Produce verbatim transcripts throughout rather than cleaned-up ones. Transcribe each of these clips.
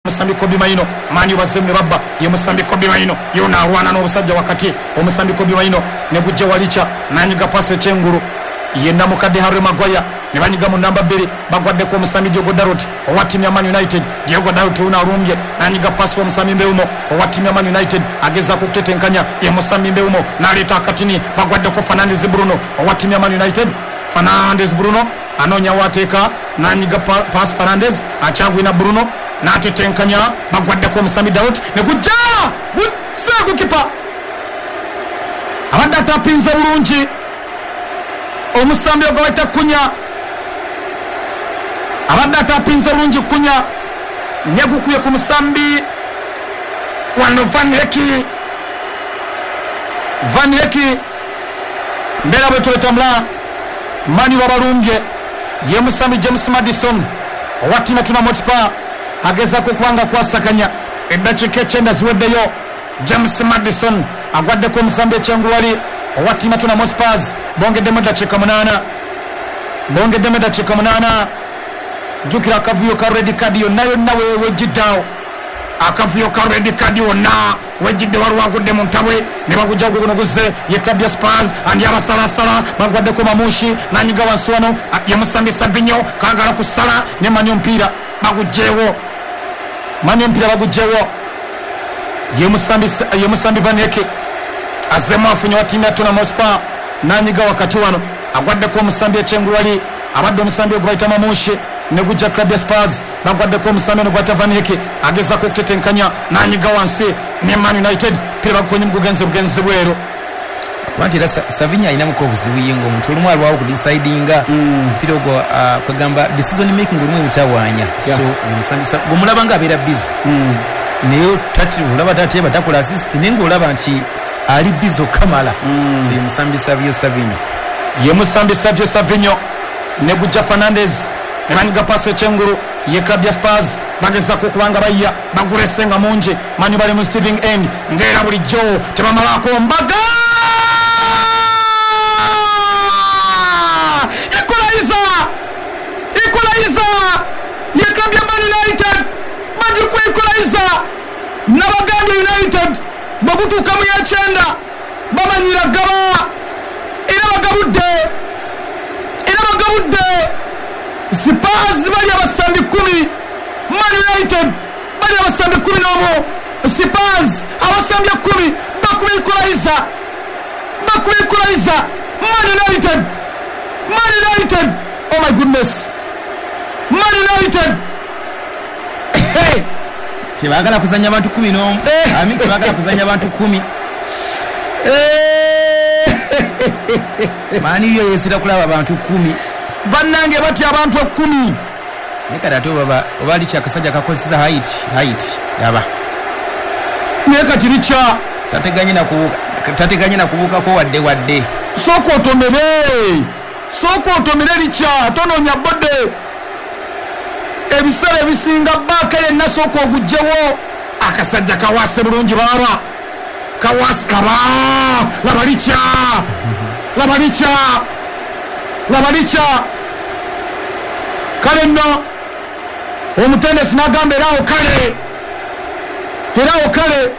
Omusambi Kobbie Mainoo, Man U bazzemu ne babba. Ye musambi Kobbie Mainoo yona alwana n'obusajja wakati. Omusambi Kobbie Mainoo ne gujja walicha nanyiga pasi ekyengulu ye namukadde Harry Maguire ne banyiga mu namba bbiri, bagwaddeko omusambi Diogo Dalot owa ttiimu ya Man United. Diogo Dalot ono alumbye nanyiga pasi omusambi Mbeumo owa ttiimu ya Man United, agezaako okutetenkanya. Ye musambi Mbeumo n'aleeta akatini, bagwaddeko Fernandes Bruno owa ttiimu ya Man United. Fernandes Bruno anoonya waateeka, nanyiga pasi Fernandes akyagwina Bruno n'atetenkanya, bagwaddeko omusambi Dalot ne gujja guzze gukipa, abadde atapinze bulungi omusambi ogwo bayita Kunya, abadde atapinze bulungi Kunya ne gukubye ku musambi wano Van Hecke. Van Hecke mbeera bwe twetambula Man U babalumbye. Ye musambi James Maddison owa ttiimu ya Tottenham Hotspur agezaako okuba nga kwasakanya. Eddakiika ekyenda ziweddeyo. James Maddison agwaddeko omusambi ekyengulwali owa ttiimu ya Tottenham Hotspur. Bongeddemu eddakiika munaana, bongeddemu eddakiika munaana. Jjukira akavuyo ka red card yonna yonna wejjiddaawo, akavuyo ka red card wonna wejjidde, waliwo agudde mu ntabwe ne bagujja guno guzze. Ye club ya Spurs andi abasalasala, bagwaddeko Mamushi nanyiga wansi wano ye musambi Savinho kagala kusala ne manya omupiira bagugjewo, manya omupiira bagugjewo. Ye musambi ye musambi Van Hecke azemu afunye wa ttiimu ya Tottenham Hotspur nanyiga wakati wano agwaddeko omusambi ekyengulwali abadde omusambi ogwo bayita Mamushi ne gujja club ya Spurs, bagwaddeko omusambi ono gwata Van Hecke agezaako okutetenkanya nanyiga wansi ne Man United pira bagukonye mugugenze bugenzi bweru. Kuba era Savinho alinamuko obuzibu ye ng'omuntu olumu alwawo okudecidinga omupiira ogwo, kwegamba decision making olumu ebutawaanya. So omusambi bw'omulaba ng'abeera busy naye olaba tateeba, takola assist, naye ng'olaba nti ali busy okukamala. So ye musambi Savio Savinho, ye musambi Savio Savinho ne gujja Fernandes ne banyiga pasi ekyengulu. Ye club ya Spurs bagezaako okuba nga bayya, bagulese nga mungi. Man U bali mu receiving end ng'era bulijjo tebamalaako mbaga. Equalizer, equalizer ye club ya Man United bagikuwa equalizer. Nabagambye United bwe gutuuka mu yekyenda bamanyira gaba, era bagabudde, era bagabudde. Spurs bali abasambi kumi, Man United bali abasambi kumi n'omu. Spurs abasambi ekkumi bakuba equalizer, bakuba equalizer. Man United, Man United, oh my goodness, Man United. Hey, tebagala kuzanya abantu kumi n'omu, I mean, tebagala kuzanya abantu kumi. Man U yo yesira kulaba abantu kumi. Bannange batya abantu ekkumi. Naye kati ate oba oba Licha akasajja kakozesa height height yaba naye kati Licha tateganye na kubuuka, tateganye na kubuukako wadde wadde. Sooka otomere, sooka otomere Licha, tonoonya bodde. Ebiseera ebisinga baaka yenna sooka ogugjewo. Akasajja kawaase bulungi baaba kawaase, laba laba Licha, laba Licha, laba Licha. Kale nno omutendesi n'agamba eraawo kale, eraawo kale.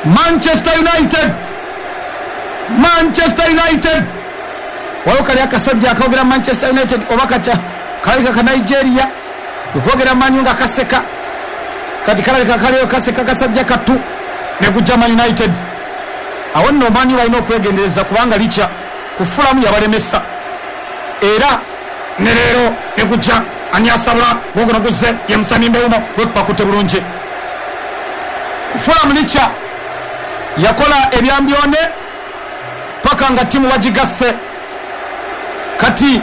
Manchester United, Manchester United, waliwo kali akasajja akogera Manchester United oba katya kalabika ka Nigeria okwogera Man U nga kaseka, kati kalabika kaliyo kaseka kasajja kattu ne gujja Man United. Awo nno Man U balina okwegendereza kubanga Licha kufulamu yabalemesa, era ne leero ne gujja ani asabula guguno guzze ye musambi Mbeumo gwekupakutte bulungi. Kufulamu Licha yakola ebyambyone paka nga ttiimu bagigasse. Kati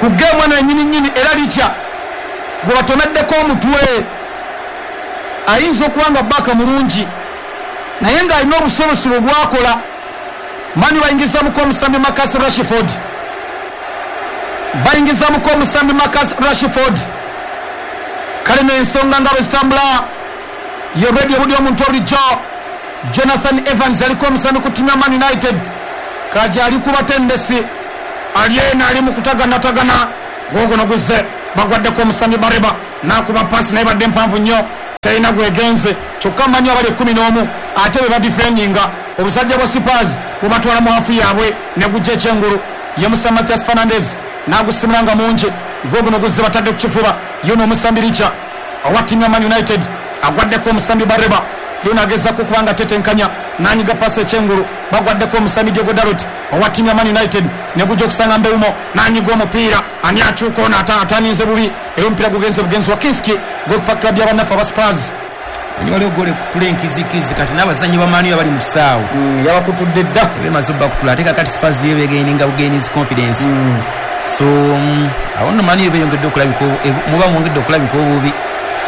ku geemu eno ennyini nnyini era Licha gwe batomeddeko omutwe ayinza okuba nga baaka mulungi naye ng'alina obusobosobo bwakola. Man U bayingizamuko omusambi Marcus Rashford, bayingizamuko omusambi Marcus Rashford. Kale n'ensonga nga bwe zitambula ye radio buli omuntu obulijjo Jonathan Evans aliko omusambi ku ttiimu ya Man United kati ali ku batendesi ali eno ali mu kutaganatagana. Guguno guzze bagwaddeko omusambi Bareba n'akuba pasi naye badde mpanvu nnyo. Terina gwegenze kyokka manyi abali ekkumi n'omu ate bwe badifendinga obusajja bwa Spurs bubatwala mu hafu yaabwe ne gujja ekyengulu. Ye Musa Mathias Fernandes n'agusimula nga mungi gwo guno guzze batadde ku kifuba. Yono omusambi Richa owa ttiimu ya Man United agwaddeko omusambi Bareba. Yono agezaako okuba nga tetenkanya n'anyiga pasi ekyengulu, bagwaddeko omusambi Diogo Dalot owa ttiimu ya Man United ne gujja okusanga Mbeumo n'anyiga omupiira. Ani akyuka ono ataninze bubi era omupiira gugenze bugenzi wa Kinski gwokupa club y'abannaffe aba Spurs. Ani waliwo gole kukula enkizikizi kati n'abazannyi ba Man U abali mu kisaawe yabakutudde dda bemaze obbakutula ate kakati Spurs yo begaininga bugainizi confidence. So awo nno Man U beyongedde okulabika muba mwongedde okulabika obubi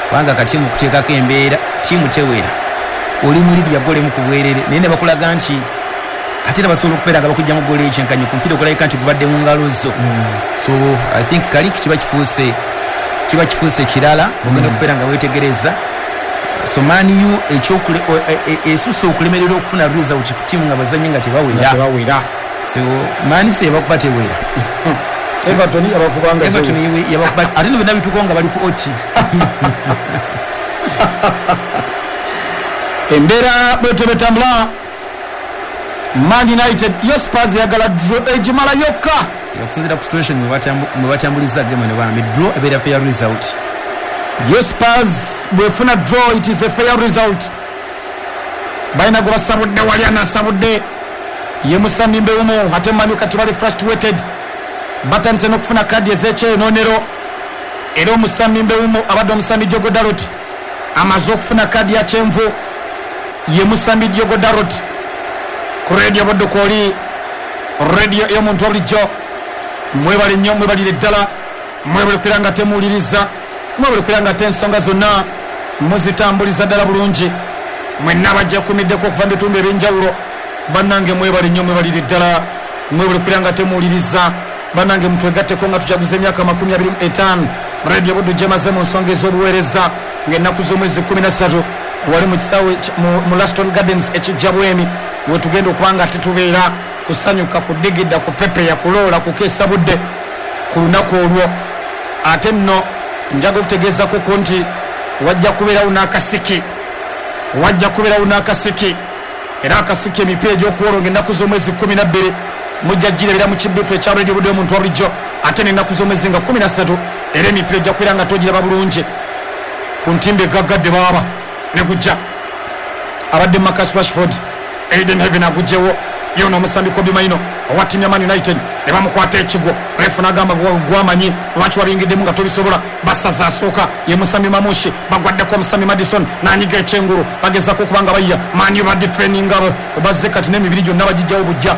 kubanga kati mu kuteekako embeera ttiimu tewera oli muli lya gole mu kubwerere naye ne bakulaga nti ate era basobola okubeera nga bakujjamu gole ekyenkanyi ku mupiira okulabika nti gubadde mu ngalo zo. So I think Kaliki kiba kifuuse kiba kifuuse kirala ogenda okubeera nga weetegereza. So Man U esusse okulemererwa okufuna result ku ttiimu nga bazannyi nga tebawera. So Man City yabakuba tewera, Everton yabakubanga Everton yabakuba ate no byonna bituukawo nga bali ku oti. Embeera bwetyo betambula. Man United yo Spurs yagala draw egimala yokka okusinziira ku situation mwe batambuliza game eno bambi draw ebeera fair result. Yo Spurs bwefuna draw it is a fair result. Balina gwe basabudde wali anasabudde ye Musambi Mbeumo ate Man U kati bali frustrated batandise n'okufuna kadi ez'ekyenonero era omusambi Mbeumo abadde omusambi Diogo Dalot amaze okufuna kadi ya kyenvu ye Musambi Diogo Dalot. Ku radio Buddu oli radio y'omuntu bulijjo mwebale nnyo mwebalire ddala mwebale kubeera nga temuwuliriza mwebale kubeera nga te ensonga zonna muzitambuliza ddala bulungi. Mwenna bajja kumiddeko okuva mu bitundu ebyenjawulo bannange mwebale nnyo mwebalire ddala mwebale kubeera nga temuwuliriza bannange mutwegatteko nga tujaguza emyaka makumi abiri mu etaano radio Buddu gyemaze mu nsonga ez'obuweereza ng'ennaku z'omwezi kkumi na ssatu wali mu kisaawe mu Laston Gardens ekijja Bwemi wetugenda okuba nga tetubeera kusanyuka kudigida kupepeya kuloola kukeesa budde ku lunaku olwo. Ate nno njaga okutegeezako ko nti wajja kubeerawo n'akasiki wajja kubeerawo n'akasiki era akasiki emipiira egy'okuwolonga ennaku z'omwezi kkumi na bbiri mujja girebera mu kibbitu ekya Radio Buddu y'omuntu wa bulijjo ate n'ennaku z'omwezi nga kkumi na ssatu era emipiira ejja kubeera nga togiraba bulungi ku ntimbe egaggadde baaba ne gujja abadde Marcus Rashford. Aiden Heaven agugyewo yono omusambi Kobbie Mainoo owa ttiimu ya Man United ne bamukwata ekigwo. Refu n'agamba gwamanyi lwaki wabiyingiddemu nga tobisobola. Basaza asooka ye musambi Mamushi bagwaddeko omusambi Madison n'anyiga ekyengulu bagezaako okuba nga bayiya Man U badifendinga bazze kati n'emibiri gyonna bagijjawo bujja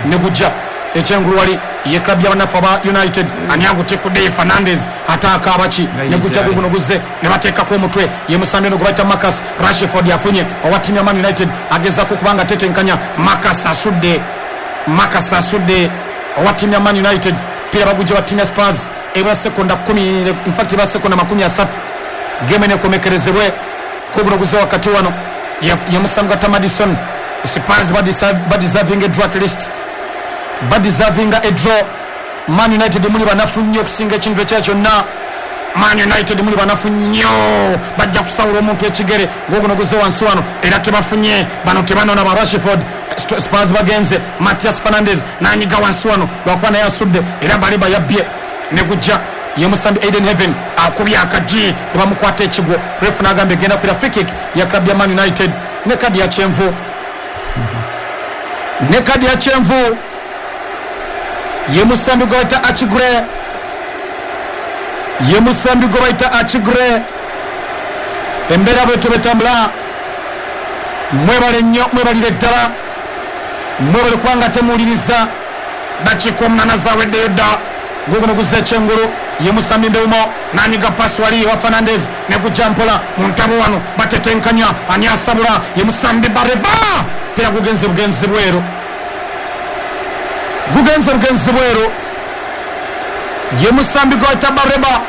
ne gujja ekyengulu wali ye club y'abanafu aba United. Ani agutikudde ye Fernandes ate akaaba ki ne gujja guguno guzze ne bateekako omutwe ye musambi ono gwe bayita Marcus Rashford afunye owa ttiimu ya Man United agezaako okuba nga tetenkanya. Marcus asudde Marcus asudde owa ttiimu ya Man United pira bagujja wa ttiimu ya Spurs ebula sekonda kumi in fact ebula sekonda makumi asatu game enekomekerezebwe kuguno guzze wakati wano ye musambi gwa Madison. Spurs badeserving a draw at least badeserving a draw. Man United muli banafu nnyo okusinga ekintu ekya kyonna. Man United muli banafu nnyo bajja kusawula omuntu ekigere guguno guzze wansi wano era tebafunye bano tebanona ba Rashford. Spurs bagenze Mathias Fernandes n'anyiga wansi wano lwakuba naye asudde era Baleba yabbye ne gujja ye musambi Aiden Heaven akubye akagi ne bamukwata ekigwo. Refu n'agamba egenda kuira free kick ya club ya Man United ne kadi ya kyenvu ne kadi ya kyenvu ye musambi gwe bayita Achigre ye musambi gwe bayita Achigre. Embeera bwetyo betambula. Mwebale nnyo mwebalire ddala mwebale kubanga temuwuliriza. Dakiika omunaana zaweddeyo dda guguno guzza ekyengulu ye musambi Mbeumo n'anyiga pasi wali wa Fernandes ne gujja mpola mu ntabo wano batetenkanya ani asabula ye musambi Bareba pira gugenze bugenzi bweru gugenze bugenzi bweru ye musambi gwayita Bareba.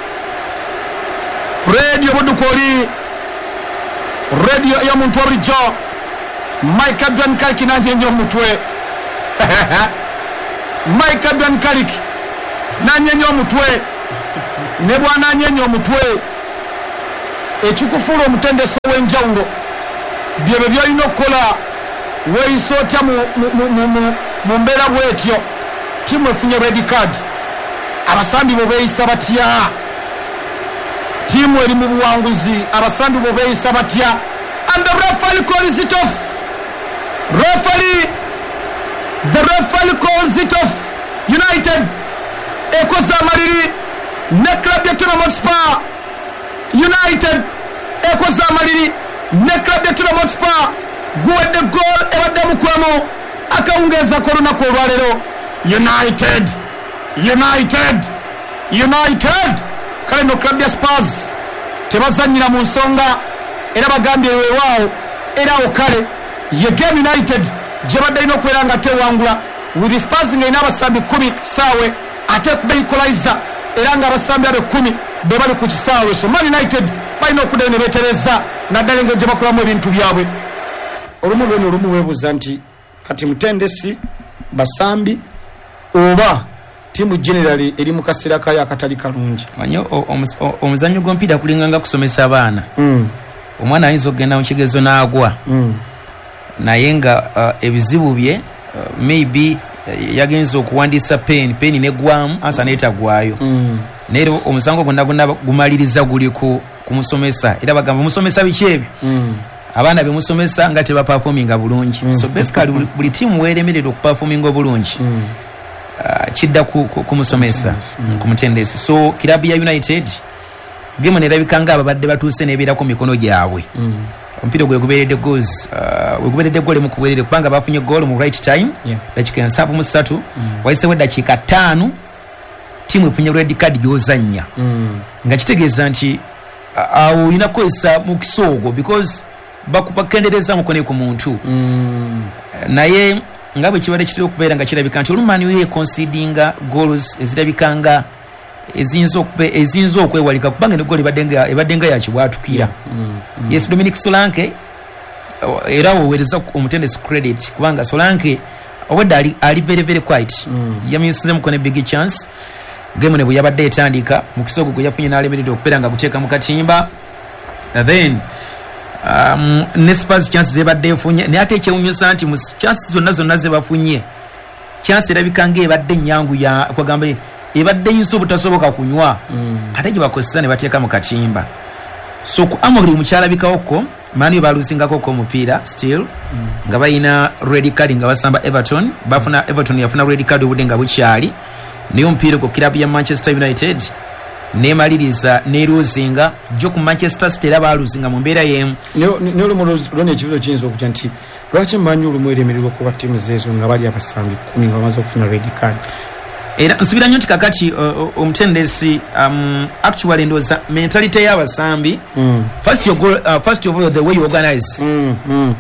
Radio Buddu oli radio y'omuntu wa bulijjo Mike Adrian Kaliki nanyenye omutwe Mike Adrian Kaliki nanyenye omutwe ne bwananyenya omutwe Ekikufuula omutendesi ow'enjawulo byebyo byolina okukola. Weeyisa otya mu mbeera bwetyo? Tiimu efunye red card, abasambi bo beeyisa batya? Tiimu eri mu buwanguzi, abasambi bo beeyisa batya? And the referee calls it off. Referee, the referee calls it off. United ekoze amaliri ne club ya Tottenham Hotspur. United ekoze amaliri ne club ya Tottenham Hotspur. Guwedde goal ebadde mukwemu akawungeeza k'olunaku olwaleero. United, United, United. Kale no club ya Spurs tebazannyira mu nsonga, era bagambye weewaawo, era awo kale ye game United gye badde erina okubeera nga tewangula, with Spurs ng'erina abasambi kkumi ku kisaawe ate kuba equalizer, era ng'abasambi abo ekkumi be bali ku kisaawe. So Man United balina okuddayo ne beetereza, naddala engeri gye bakolamu ebintu byabwe. Olumu lweno olumu weebuuza nti kati mutendesi, basambi oba tiimu generally eri mu kaseera kayo akatali kalungi. Manyi omuzannyo gw'omupiira kulinga nga kusomesa abaana. Omwana ayinza okugenda mu kigezo n'agwa, naye nga uh, ebizibu bye uh, maybe uh, yagenza okuwandiisa pen peni negwamu ansa netagwayo, naye era omusango gwonna gwonna gumaliriza guli ku kumusomesa. Era bagamba musomesa biki ebyo, abaana bemusomesa nga tebaperforminga bulungi. So basically buli, buli tiimu weeremerera okuperforminga obulungi, uh, kidda ku, ku, kumusomesa, ku mutendesi. So kirabu ya United game nerabika nga ababadde batuuse nebeerako mikono gyabwe. Omupiira gwe gubeeredde goals, uh, wegubeeredde goal emu ku bwerere, kubanga bafunye goal mu right time, Yeah. dakiika nsanvu mu ssatu, wayisewo eddakiika ttaano tiimu efunye red card gy'ozannya, nga kitegeeza nti awo olina kukozesa mukisa ogwo because bakendereza mukono ku muntu. Naye nga bwe kibadde kitera okubeera nga kirabika nti olumu Man U econcedinga goals ezirabika nga eziyinza okube eziyinza okwewalika, kubanga ne goal ebadde nga ebadde nga yakibwatukira. Yes, Dominic Solanke, era woweereza omutendesi credit, kubanga Solanke obwedda ali, ali very very quiet, yamisize mukono big chance game ne bwe yabadde etandika, mukisa ogwo gwe yafunye n'alemeredde okubeera nga guteeka mu katimba. Then um, ne Spurs chance zebadde efunye, naye ate ekyewunyisa nti mu chance zonna zonna zebafunye, chance erabika ng'ebadde ennyangu ya kwagamba ebadde eyinza obutasoboka kunywa, ate gye bakozesa ne bateeka mu katimba. So ku Amorim mukyalabikawoko Man U balusingako omupiira still, nga balina red card nga basamba Everton, bafuna Everton yafuna red card obudde nga bukyali, naye omupiira ogwo kirabu ya Manchester United nemaliriza neluzinga jo ku Manchester City, era baluzinga mu mbeera y'emu. Naye olumu lwona ekibuzo kiyinza okutya nti lwaki Man U olumu eremererwa okuba ttiimu zeezo nga bali abasambi kkumi nga bamaze okufuna red card? Era nsubira nnyo nti kakati omutendesi um, actually ndowooza mentality y'abasambi, first you go, uh, first of all the way you organize,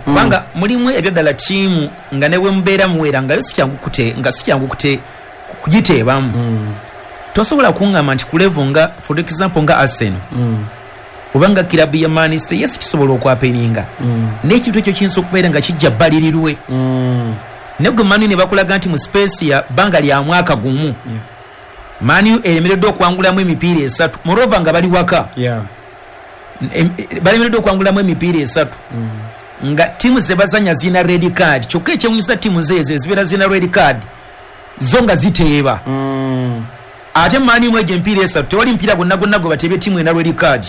kubanga mulimu ebyaddala ttiimu nga ne bwe mubeera muwera nga yo si kyangu kute nga si kyangu kute kugiteebamu. Tosobola kuŋŋamba nti ku level nga for example nga Arsenal oba nga kirabu ya Man City, yes kisobola okwapeninga, naye ekintu ekyo kiyinza okubeera nga kijja bbalirirwe. Naye gwe Man U ne bakulaga nti mu space ya bbanga lya mwaka gumu Man U eremereddwa okuwangulamu emipiira esatu, moreover nga bali waka, balemereddwa okuwangulamu emipiira esatu nga ttiimu ze bazannya zirina red card. Kyokka ekyewunyisa ttiimu zeezo ezibeera zirina red card zo nga ziteeba, ate Man U egyo emipiira esatu tewali mupiira gwonna gwonna gwe bateebye ttiimu erina red card,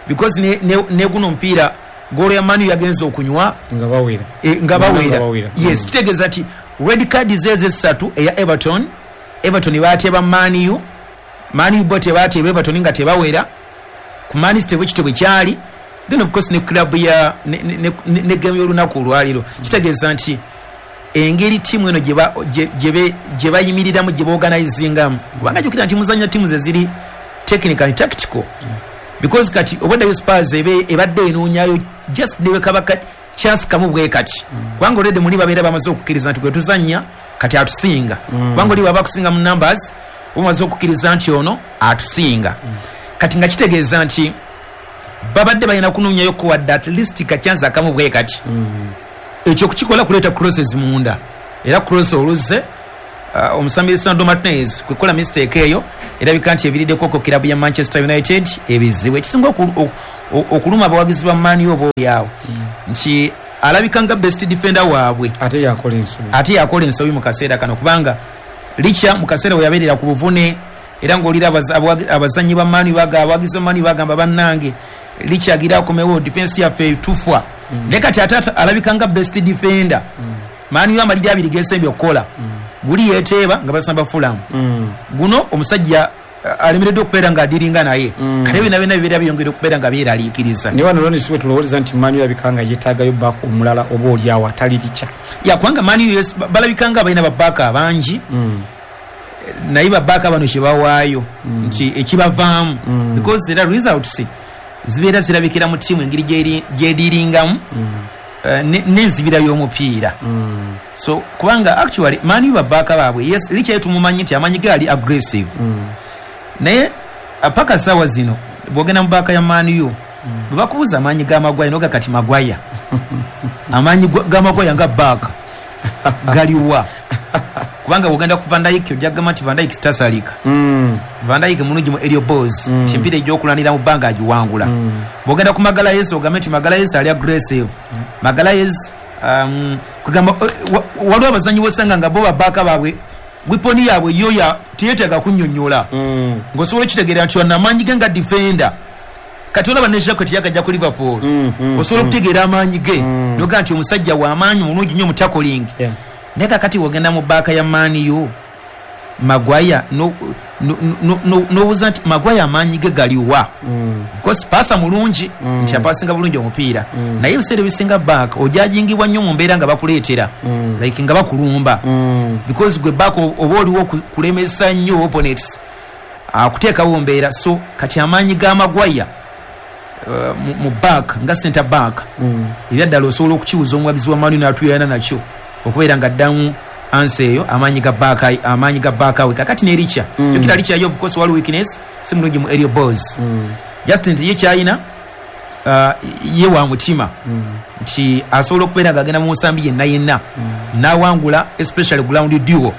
because ne, ne, ne guno omupiira goolo ya Man U yagenze okunywa nga bawera, e, nga bawera. Yes, kitegeeza nti red card zeezo esatu eya Everton, Everton baateeba Man U, Man U bo tebateeba Everton nga tebawera, ku Man City bwe kityo bwe kyali, then of course ne club ya ne, ne, ne, ne game y'olunaku olwaliro. Kitegeeza nti engeri ttiimu eno gye bayimiriramu, gye baorganizingamu, kubanga jjukira nti muzannya ttiimu ze ziri technical and tactical, because kati obaddayo Spurs ebadde enoonyayo just ne bwekaba chance kamu bwe kati, kubanga already muli babeera bamaze okukkiriza nti gwe tuzannya kati atusinga, kubanga oli bw'aba akusinga mu numbers bamaze okukkiriza nti ono atusinga. Kati nga kitegeeza nti babadde balina kunoonyayo ko wadde at least ka chance akamu bwe kati. Ekyo kukikola kuleeta crosses munda, era cross oluzze uh, omusambi Sandro Martinez kukola mistake eyo erabika nti ebiriddeko ko kirabu ya Manchester United ebizibu. Ekisinga okuluma abawagizi ba Man U oba oliawo nti alabika nga best defender waabwe ate yakola ensobi ate yakola ensobi mu kaseera kano, kubanga Licha mu kaseera we yabeerera ku buvune era ng'olira abazannyi ba Man U baga abawagizi ba Man U bagamba bannange Licha agira akomewo defense yaffe tufwa. Naye kati ate alabika nga best defender. Man U amaliri abiri gesembye okukola guli yeteeba nga basamba Fulham, guno omusajja alemereddwa okubeera ng'adiringa naye kale byonna byonna bibeera byongera okubeera nga byeraliikiriza. Naye wano Ronnie siwe tulowooza nti Man U yabika nga yeetaagayo baaka omulala oba oli awo atali Licha. Ya kubanga Man U yes, balabika nga balina babaaka abangi naye babaaka bano kye bawaayo nti ekibavaamu because era results zibeera zirabikira mu ttiimu engeri gyediringamu n'enzibira y'omupiira. So kubanga actually Man U babaaka baabwe yes, Licha ye tumumanyi nti amanyi ge ali aggressive, naye paka sawa zino bwogenda mu baaka ya Man U bwe bakubuuza amaanyi ga Maguire noga kati Maguire amaanyi ga Maguire nga baaka galiwa? Kubanga bwogenda ku Van Dijk ojja kugamba nti Van Dijk tasalika, Van Dijk mulungi mu aerial balls nti emipiira egy'okulwanira mu bbanga agiwangula. Bwogenda ku Magalhaes ogambe nti Magalhaes ali aggressive, Magalhaes kugamba waliwo abazannyi b'osanga nga bo babaaka baabwe weapon yaabwe yo ya teyeetaaga kunnyonnyola ng'osobola okitegeera nti wano amaanyi ge nga defender. Kati olaba ne Jacques yakajja ku Liverpool osobola okutegeera amaanyi ge noga nti omusajja w'amaanyi mulungi nnyo mu tackling. Naye kakati wogenda mu baaka ya Man U Maguire n'obuuza nti Maguire amaanyi ge galiwa? Because pasa mulungi nti apasinga bulungi omupiira, naye ebiseera ebisinga baaka ojajingibwa nnyo mu mbeera nga bakuleetera like nga bakulumba because gwe baaka oba oliwo kulemesa nnyo opponents akuteekawo mbeera. So kati amaanyi ga Maguire mu back nga center back ebyaddala osobola okukiwuza omuwagizi wa Man U n'atuyana nakyo okubeera nga ddamu ansa eyo amaanyi ga baaka amaanyi ga baaka we. Kakati ne Licha jjukira Licha yo of course wali weakness si mulungi mu aerial balls, just nti ye kyayina ye wa mutima nti asobola okubeera ng'agenda mu nsambi yenna yenna n'awangula especially ground duo.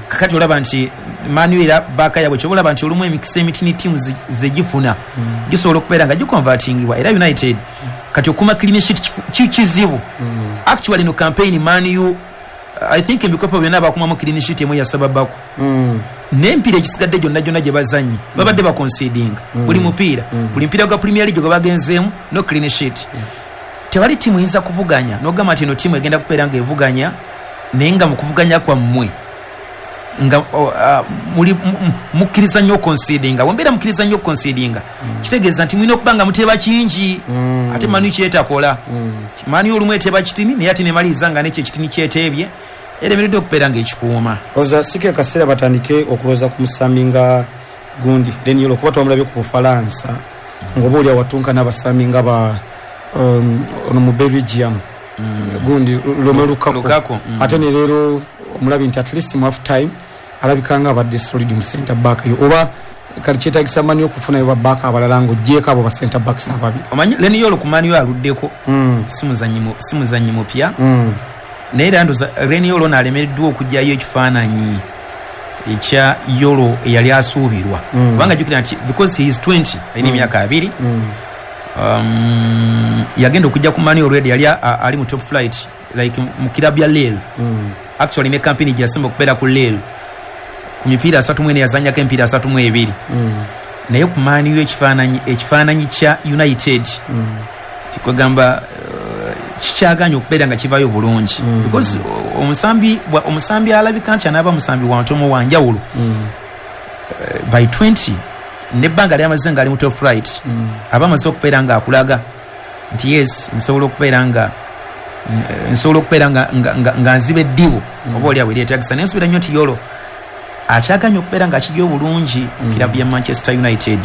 Kakati olaba nti Man U era baaka yabwe kyoba olaba nti olumu emikisa emitini ttiimu zegifuna gisobola okubeera nga giconvertingibwa. Era United kati okuma clean sheet kizibu. Actually no campaign Man U I think ebikopo byonna bakumamu clean sheet emu yasababako n'emipiira egisigadde gyonna gyonna gye bazannye babadde baconcedinga buli mupiira, buli mupiira gwa Premier League gwe bagenzeemu no clean sheet. Tewali ttiimu eyinza kuvuganya n'ogamba nti eno ttiimu egenda kubeera ng'evuganya naye nga mu kuvuganya kwammwe nga muli mukkiriza nnyo oconcedinga. Bwe mukkiriza nnyo oconcedinga kitegeeza nti mulina okuba nga muteeba kingi, ate Man U kyetakola. Man U olumu eteeba kitini naye ate nemaliriza nga n'ekyo ekitini kyeteebye eremereddwa okubeera ng'ekikuuma. Oza sike kaseera batandike okulowooza ku musambi nga gundi Leny Yoro, kuba twamulabye ku Bufalansa ng'oba oli awatunka n'abasambi nga ba ono mu Belgium gundi Romelu Lukaku, ate ne leero omulabi nti at least mu half time alabika nga abadde solid mu center back yo, oba kati kyetaagisa Man U okufunayo babaaka abalala ng'oggyeko abo ba center backs ababiri. Omanyi Leny Yoro ku Man U aluddeko si muzannyi mupya, naye era ndoza Leny Yoro n'alemereddwa okuggyayo ekifaananyi ekya Yoro eyali asuubirwa, kubanga jjukira nti because he is twenty alina emyaka abiri, yagenda okujja ku Man U already yali ali mu top flight like mu kirabu ya Lille. Actually ne campaign gyasemba okubeera ku Lille ku mipiira asatu mu ena yazannyako emipiira asatu mu ebiri, naye ku Man U ekifaananyi ekifaananyi kya United kwegamba kikyaganye okubeera nga kivaayo bulungi because omusambi omusambi alabika nti anaaba musambi wa ntomo wa njawulo by twenty nebbanga lyamaze nga ali mu top flight aba amaze okubeera nga akulaga nti yes nsobola okubeera nga nsobola okubeera nga nga nziba eddibu oba oli awo eryetaagisa. Naye nsuubira nnyo nti Yoro akyaganye okubeera nga akijja obulungi ku kirabu ya Manchester United.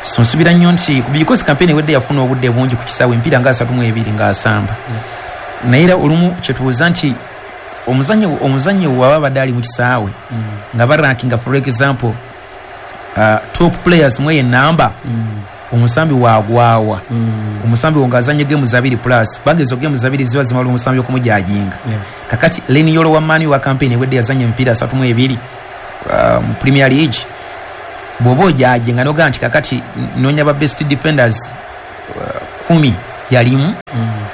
So nsuubira nnyo nti because campaign ewedde yafuna obudde bungi ku kisaawe emipiira nga asatu mu ebiri ng'asamba, naye era olumu kyetubuuza nti omuzannyi omuzannyi waba abadde ali mu kisaawe nga barankinga for example uh, top players mwe enamba omusambi wagwawa omusambi ng'azannye games abiri plus kubanga ezo games abiri ziba zimala omusambi okumujajinga. Kakati Leny Yoro wa Man U wa campaign ewedde yazannya emipiira asatu mu ebiri uh, mu Premier League, bw'oba ojajinga n'ogamba nti kakati noonya ba best defenders kumi yalimu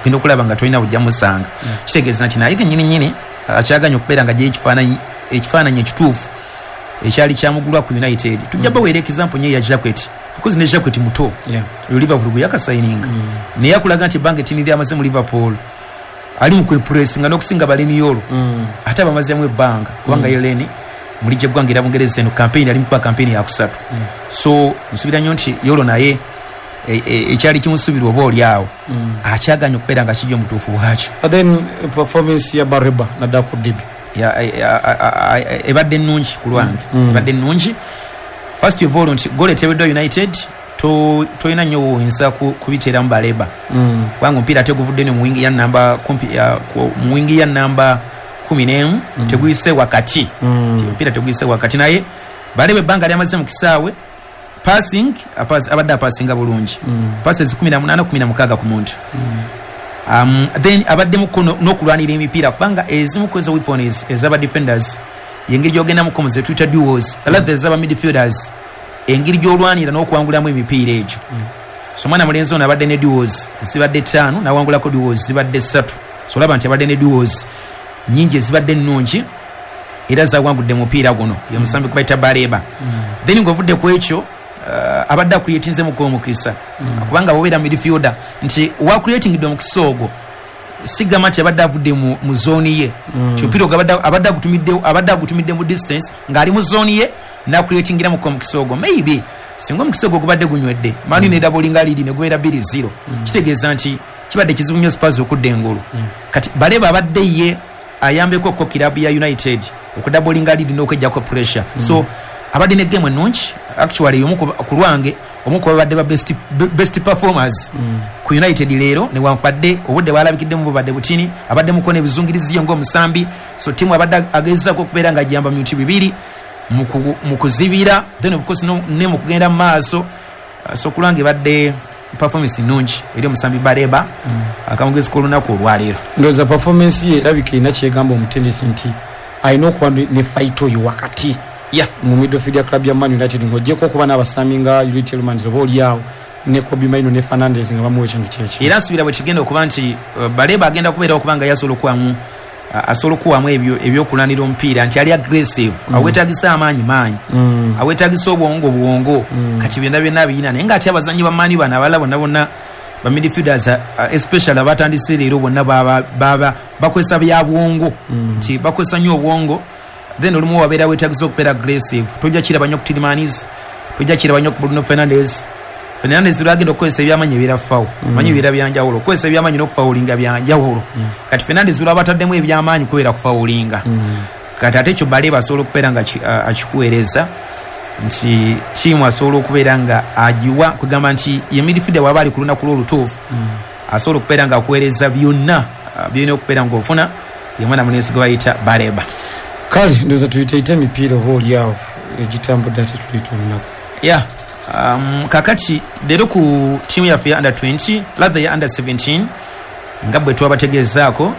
ogenda okulaba nga tolina bujja musanga. Kitegeeza nti naye kennyini nnyini akyaganya okubeera nga gye ekifaananyi ekifaananyi ekituufu ekyali kyamugulwa ku United. Tujja baweera example nye ya Jacquet, because ne Jacquet muto Yeah. oyo Liverpool gwe yakasayininga, naye akulaga nti ebbanga ettini lyamaze mu Liverpool ali mu kwepressinga n'okusinga Baleni Yolo, ate abamazeemu ebbanga, kubanga ye Leni muli gyeggwanga era Bungereza eno campaign ali mukuba campaign yakusatu. So nsuubira nnyo nti Yolo naye e- e- ekyali kimusuubirwa oba oli awo akyaganya okubeera nga kijja omutuufu bwakyo. But then performance ya Baleba naddala ku derby? Ya- a- a- a- a- ebadde nnungi ku lwange, ebadde nnungi. First of all nti goal eteebeddwa United, to- tolina nnyo woyinza ku- kubiteeramu Baleba, kubanga omupiira ate guvudde ne mu wingi ya namba kumpi ya- ku- mu wingi ya namba kumi n'emu, teguyise wakati. Nti omupiira teguyise wakati, naye Baleba ebbanga lyamaze mu kisaawe passing apas- abadde apasinga bulungi, passes kumi na munaana, kumi na mukaaga ku muntu. um, then abaddemu no- n'okulwanira emipiira, kubanga ezimu ku ezo weapons ez'aba defenders yengeri gy'ogendamuko mu zetuyita duels, rather ez'aba midfielders, engeri gy'olwanira n'okuwangulamu emipiira egyo. So omwana mulenzi ono abadde ne duels zibadde ttaano, n'awangulako duels zibadde ssatu. So olaba nti abadde ne duels nyingi ezibadde ennungi era zawangudde mupiira guno, ye musambi kubayita Baleba. Then ng'ovudde ku ekyo, uh, abadde acreatinzemuko omukisa, kubanga bwobeera midfielder nti wacreatingidde omukisa ogwo, sigamba nti abadde avudde mu, mu zone ye, nti omupiira ogwo abadde- abadde agutumidde abadde agutumidde mu distance ng'ali mu zone ye, nacreatingiramuko omukisa ogwo. Maybe singa omukisa ogwo gubadde gunywedde, Man U nedoublinga lead ne gubeera bbiri zero, kitegeeza nti kibadde kizibu nnyo Spurs okudda engulu. Kati Baleba abadde ye ayambeko ko kirabu ya United okudoublinga lead n'okwejjako pressure. So abadde ne game ennungi actually, omu ku ku lwange omu ku babadde ba best, best performers ku United leero, newankubadde obudde bwalabikiddemu bubadde butini, abadde muko n'ebizungirizi ye ng'omusambi. So tiimu abadde agezaako okubeera nga ajamba mu bintu bibiri, mu ku- mu kuzibira, then of course no- ne mu kugenda mu maaso. Uh, so kulwange ebadde performance nnungi eri omusambi Baleba, akamugezi k'olunaku olwaleero. Ndowooza performance ye erabika erina kyegamba omutendesi nti alina okuba ne ne fight oyo wakati yeah. mu midfield ya club ya Man United, ng'ogyeko okuba n'abasambi nga Youri Tielemans oba oliawo ne Kobbie Mainoo ne Fernandes nga bamuwa ekintu kyeki. Era nsuubira bwe kigenda okuba nti uh, Baleba agenda kubeera okuba nga yasobola okuwamu uh, asobola okuwamu ebyo ebyokulwanira omupiira, nti ali aggressive, mm. awetagisa amaanyi maanyi, mm. awetagisa obwongo bwongo. mm. kati byonna byonna biyina, naye ngaate abazanyi ba Man U bano abalala bonna bonna ba midfielders, uh, especially abatandise leero, bonna baba baba bakozesa bya bwongo, nti bakozesa nnyo obwongo. Then olumu wabeera wetagisa okubeera aggressive, tojja kiraba nnyo ku Tielemans, tojja kiraba nnyo ku Bruno Fernandes. Fernandes lwagenda okukozesa ebyamanyi ebiera foul, manyi ebiera byanjawulo, okukozesa ebyamanyi n'okufawulinga byanjawulo. Kati Fernandes lwaba ataddemu ebyamaanyi kubeera kufawulinga. Kati ate ekyo Baleba asobola okubeera nga ki- a- akikuweereza nti tiimu asobola okubeera nga agiwa, kugamba nti ye midfielder waba ali ku lunaku lwolutuufu asobola okubeera nga akuweereza byonna ah, byolina okubeera ng'ofuna, ye mwana mulenzi gwe bayita Baleba. Kale ndowooza tuyiteite emipiira oba oliawo egitambudde ate tuliyita olunaku. Yeah, um, kakati leero ku tiimu yaffe ya under twenty, rather ya under seventeen, nga bwe twabategeezaako,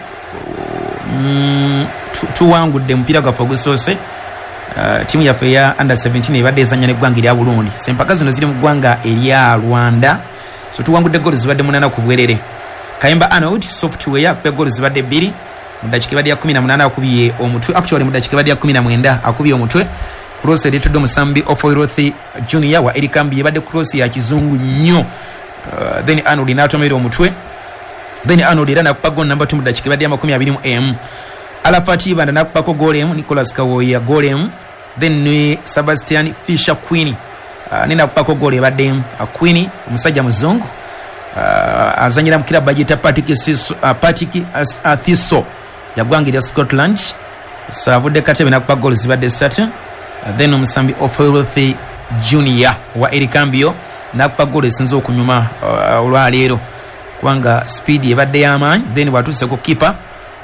mm, tu- tuwangudde omupiira gwaffe ogusoose. Uh, tiimu yaffe eya under seventeen ebadde ezanya neggwanga erya Burundi. Sempaka zino ziri mu ggwanga erya Rwanda. So tuwangudde golo zibadde munana ku bwerere. Kayemba Arnold Software akuba golo zibadde bbiri mu dakiika ebadde ya kumi na munaana, akubye omutwe, actually mu dakiika ebadde ya kumi na mwenda akubye omutwe, cross ereetedde omusambi Ofoiroth Junior wa Erikambi, ebadde cross ya kizungu nnyo. uh, then Arnold n'atomera omutwe. Then Arnold era nakuba golo namba two mu dakiika ebadde ya makumi abiri mu emu. Alafat Ibanda nakubako golo emu, Nicholas Kawoya golo emu, then ne Sebastian Fisher Queen uh, ne nakubako golo ebadde emu. uh, Queen omusajja muzungu, uh, azanyira mu kirabu bagiyita Partick Siso- uh, Partick uh, Thistle yagwanga erya Scotland. So avudde Katebe nakuba golo zibadde ssatu. uh, then omusambi Ofeloth Junior wa Ericambio nakuba golo esinza okunyuma uh, olwaleero, kubanga speed ebadde y'amaanyi. Then bwatuuse ku kipa,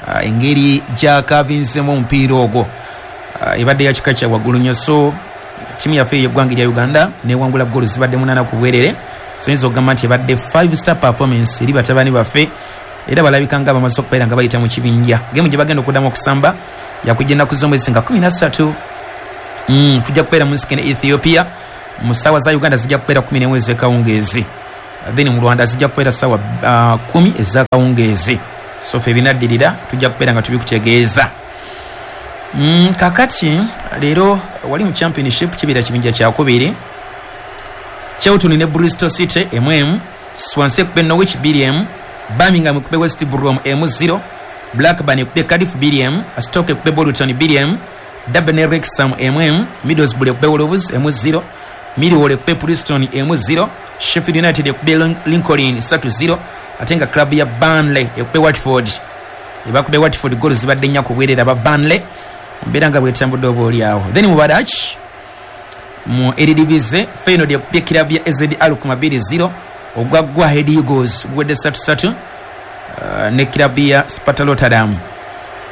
uh, engeri gyakavinzemu omupiira ogwo uh, ebadde ya kika kya waggulu nnyo. So tiimu yaffe yeggwanga erya Uganda newangula golo zibadde munaana ku bwerere. So yinza okugamba nti ebadde five star performance eri batabani baffe, era balabika nga bamaze okubeera nga bayita mu kibinja. Gemu gye bagenda okuddamu okusamba yakujja ennaku z'omwezi nga kumi na ssatu. Mm, tujja kubeera mu nsi ne Ethiopia, mu ssaawa za Uganda zijja kubeera kumi n'emu ez'ekawungeezi. Then mu Rwanda zijja kubeera ssaawa uh, kumi ez'akawungeezi. So ffe ebinaddirira tujja kubeera nga tubikutegeeza. Mm, kakati leero wali mu championship kibeera kibinja kyakubiri, Charlton ne Bristol City emu emu, Swansea ekube Norwich bbiri emu, Birmingham ekube West Brom emu zero, Blackburn ekube Cardiff bbiri emu, Stoke ekube Bolton bbiri emu, Derby ne Wrexham emu emu, Middlesbrough ekube Wolves emu zero, Millwall ekube Preston emu zero, Sheffield United ekube Lincoln ssatu zero, ate nga club ya Burnley ekube Watford. Ebakube Watford goal zibadde nnya ku bwerere aba Burnley, mbeera nga bwetambudde oba oli awo. Then mu Badach mu Eredivisie, Feyenoord ekubye club ya A Z Alkmaar bbiri zero, ogwa Go Ahead Eagles guwedde ssatu ssatu uh, ne club ya Sparta Rotterdam.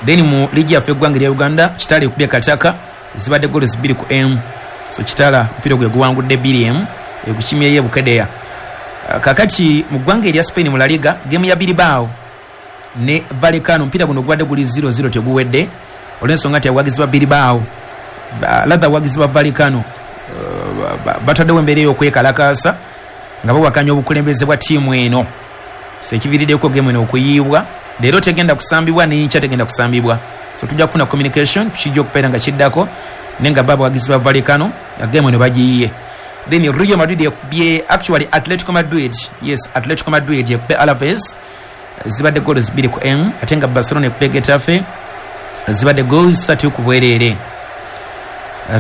Then mu ligi yaffe eggwanga erya Uganda, Kitala ekubye Kataka zibadde goal bbiri ku emu. So Kitala omupiira gwe guwangudde bbiri emu ekukimyeyo e Bukedea. Uh, kakati mu ggwanga erya Spain mu La Liga, game ya Bilbao ne Vallecano, omupiira guno gubadde guli zero zero teguwedde olw'ensonga nti abawagizi ba Bilbao latha abawagizi ba Vallecano uh, bataddewo embeera ey'okwekalakaasa nga bawakanya obukulembeze bwa ttiimu eno. So ekiviiriddeko game eno okuyiibwa, leero tegenda kusambibwa n'enkya tegenda kusambibwa. So tujja kufuna communication kijja okubeera nga kiddako, naye nga bo abawagizi ba Vallecano game eno bagiyiye. Then Real Madrid ekubye actually Atletico Madrid, yes Atletico Madrid ekubye Alaves zibadde goals bbiri ku emu, ate nga Barcelona ekubye Getafe zibadde goals ssatu ku bwereere.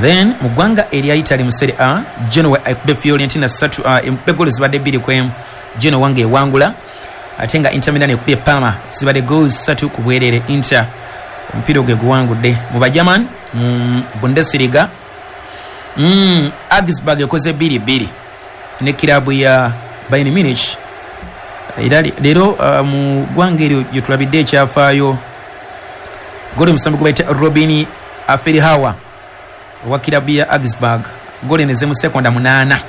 Then mu ggwanga erya Italy mu Serie A, Genoa ekubye Fiorentina ssatu, uh, ekubye goals zibadde bbiri ku emu, Genoa nga ewangula, ate nga Inter Milan ekubye Parma zibadde goals ssatu ku bwereere, Inter omupiira ogwe guwangudde. Mu Bagerman mu Bundesliga, mm, Augsburg ekoze bbiri bbiri ne kirabu ya Bayern Munich. Era leero uh, mu ggwanga eryo gye tulabidde ekyafaayo, goli omusambi gwe bayita Robin Aferhawa owa kirabu ya Augsburg, goli eno eze mu sekonda munaana.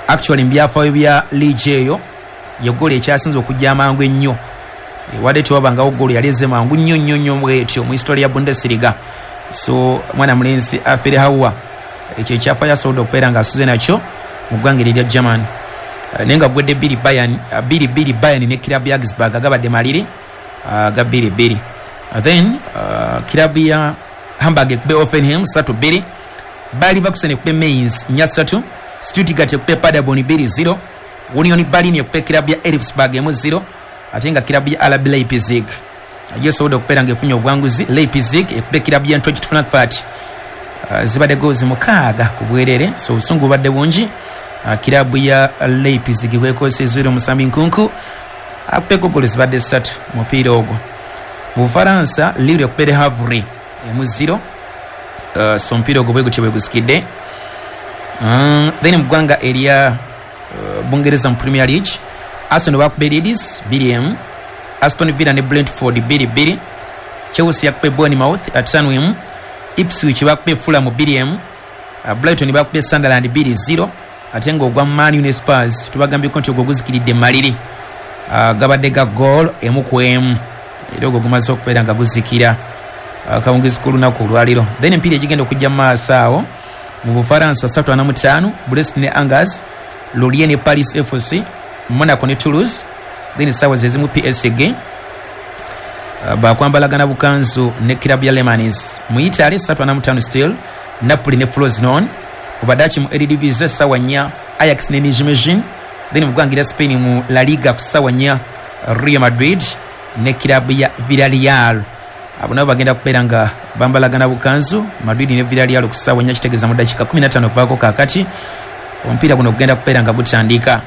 Actually mu byafaayo bya liigi eyo ye goli ekyasinze okujja amangu ennyo, wadde tewabangawo goli yali eze mangu nnyo nnyo nnyo bwetyo mu history ya Bundesliga. So mwana mulenzi Aferhawa ekyo ekyafaayo asobodde okubeera ng'asuze nakyo mu ggwanga eryo erya German. Naye nga gwedde bbiri Bayern bbiri bbiri Bayern ne kirabu ya Augsburg agabadde maliri aga bbiri bbiri. Then uh, kirabu ya Hamburg ekube Hoffenheim ssatu bbiri, Bayer Leverkusen ekube Mainz nnya ssatu, Stuttgart ekube Paderborn bbiri zero, Union Berlin ekube kirabu ya Elfsberg emu zero, ate nga kirabu ya R B Leipzig yo esobodde okubeera ng'efunye obuwanguzi. Leipzig ekube kirabu ya Eintracht Frankfurt uh, zibadde goals mukaaga ku bwerere. So obusungu bubadde bungi. Uh, kirabu ya Leipzig bwekozesa omusambi Nkunku akubeko goals zibadde ssatu mupiira ogwo. Mu Bufaransa, Lille ekubye Havre emu zero, uh, so omupiira ogwo bwe gutyo bwe gusikidde. Um, then mu ggwanga erya uh, Bungereza mu Premier League, Arsenal bakubye Leeds bbiri emu, Aston Villa ne Brentford bbiri bbiri, Chelsea yakubye Bournemouth ataano emu, Ipswich bakubye Fulham bbiri emu, uh, Brighton bakubye Sunderland bbiri zero, ate nga ogwa Man U ne Spurs tubagambyeko nti ogwo guzikiridde maliri, uh, gabadde ga goal emu ku emu, era ogwo gumaze okubeera nga guzikira akawungezi k'olunaku olwaleero. Then emipiira egigenda okujja mu maaso awo mu Bufaransa ssatu ana mu ttaano, Brest ne Angers, Lorient ne Paris F C, Monaco ne Toulouse. Then essaawa ze zimu P S G uh, bakwambalagana bukanzu ne kirabu ya Le Mans. Mu Italy ssatu ana mu ttaano still Napoli ne Frosinone. Mu Badachi mu Eredivisie essaawa nnya Ajax ne Nijmegen. Then mu ggwanga erya Spain mu La Liga ku ssaawa nnya Real Madrid ne kirabu ya Villarreal. Abo nabo bagenda kubeera nga bambalagana bukanzu Madrid ne Villarreal ku ssaawa nnya, kitegeeza mu ddakiika kumi na ttaano okuvaako kaakati omupiira guno gugenda kubeera nga gutandika.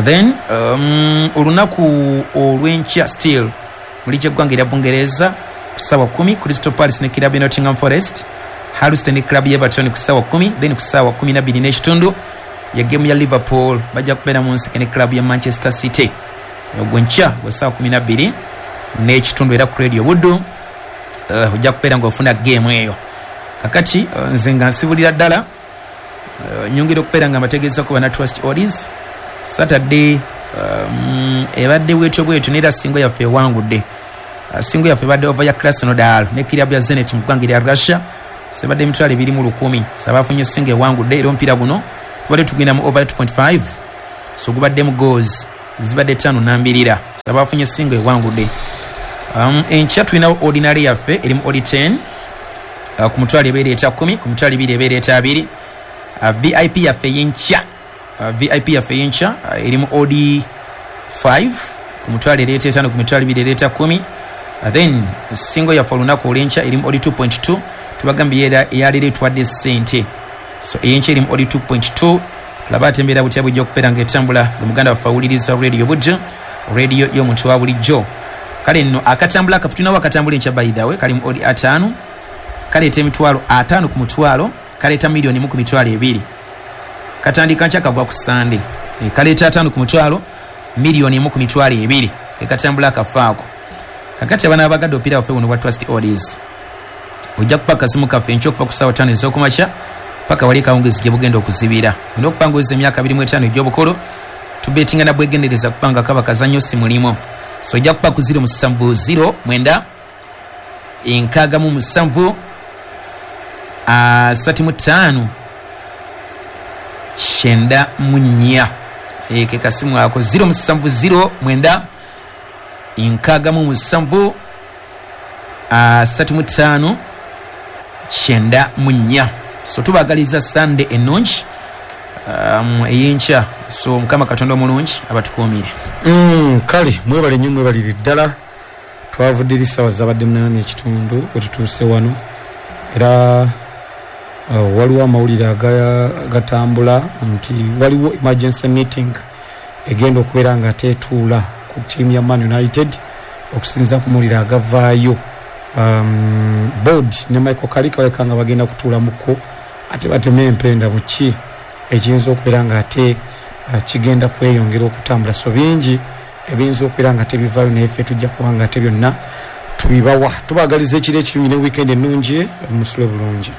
Then um, olunaku olw'enkya still mu liigi y'eggwanga erya Bungereza ku ssaawa kumi Crystal Palace ne kirabu ya Nottingham Forest, Hull ne kirabu ya Everton ku ssaawa kumi. Then ku ssaawa kumi na bbiri n'ekitundu ya game ya Liverpool bajja kubeera mu nsike ne kirabu ya Manchester City. Ogwo nkya gwa ssaawa kumi na bbiri n'ekitundu era ku Radio Buddu uh, ojja kubeera ng'ofuna game eyo. Kakati uh, nze nga nsibulira ddala uh, nyongera okubeera nga mbategeezako bana Trust Odds Saturday um, ebadde bwetyo bwetyo n'era singo yaffe ewangudde. Uh, singo yaffe ebadde ova ya Krasnodar ne kirabu ya Zenit mu ggwanga erya Russia sebadde emitwalo ebiri mu lukumi. Sabafunye singo ewangudde era omupiira guno tubadde tugenda mu over two point five. So gubaddemu goals zibadde ttaano nambirira, abafunye single ewangudde. um, enkya tulinawo ordinary yaffe erimu odi ten, uh, ku mutwalo ebeera eta kumi, ku mitwalo ebiri ebeera eta abiri. uh, V I P yaffe y'enkya, uh, V I P yaffe y'enkya uh, erimu odi five, ku mutwalo ereeta etaano, ku mitwalo ebiri ereeta kumi. uh, then single yaffe olunaku olw'enkya erimu odi two point two, tubagambye era eyaleero etwadde ssente. So eyenkya erimu odi two point two. Tulaba ate embeera butya bujja okubeera ng'etambula. Gwe muganda waffe awuliriza radio bujjo, radio y'omuntu wa bulijjo. Kale nno akatambula akaffe tulinawo akatambula enkya by the way kali mu odi ataano, kaleeta emitwalo ataano ku mutwalo, kaleeta miliyoni mu ku mitwalo ebiri. Katandika nkya kagwa ku Sande. E, kaleeta ataano ku mutwalo, miliyoni emu ku mitwalo ebiri. Ke katambula akaffe ako. Kakati abaana abagadde omupiira waffe buno bwa Trust Odds, ojja kupa akasimu kaffe enkya okuva ku ssaawa ttaano ez'okumakya paka wali akawungeezi gye bugenda okuzibira. Olina okupanguza emyaka abiri mu etaano egy'obukulu, tubeetinga na bwegendereza kubanga kaba kazannyo si mulimu. So ojja kupa ku ziro musanvu ziro mwenda enkaaga mu musanvu asatu mu ttaano kyenda mu nnya. E, ke kasimu ako ziro musanvu ziro mwenda enkaaga mu musanvu asatu mu ttaano kyenda mu nnya. So tubagaliza Sunday ennungi um, ey'enkya. So Mukama Katonda omulungi abatukuumire. Mm, kale mwebale nnyo, mwebalire ddala. Twavudde eri ssaawa zabadde munaana n'ekitundu we tutuuse wano, era uh, waliwo amawulire agatambula nti waliwo emergency meeting egenda okubeera nga teetuula ku ttiimu ya Man United okusinziira ku mawulire agavaayo. Um, board ne Michael Carrick baleka nga bagenda kutuulamuko ate bateme empenda buki ekiyinza okubeera nga ate uh, kigenda kweyongera okutambula. So bingi ebiyinza okubeera nga tebivaayo, naye ffe tujja kuba nga ate byonna tubibawa. Tubaagaliza ekiro ekirungi ne weekend ennungi, musule bulungi.